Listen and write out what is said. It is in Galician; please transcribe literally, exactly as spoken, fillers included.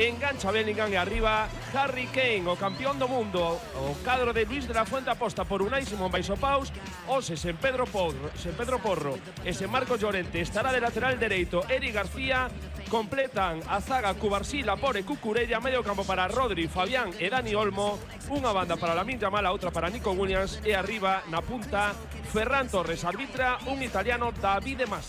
engancha Bellingham e arriba Harry Kane, o campeón do mundo. O cadro de Luis de la Fuente aposta por Unai Simón baixo paus, Ose sen Pedro Porro, sen Pedro Porro e sen Marcos Llorente. Estará de lateral dereito Eric García. Completan a zaga Cubarsí, Lapore, Cucurella, medio campo para Rodri, Fabián e Dani Olmo, unha banda para Lamine Yamal, a outra para Nico Williams e arriba na punta Ferran Torres. Arbitra un italiano, Davide Mas.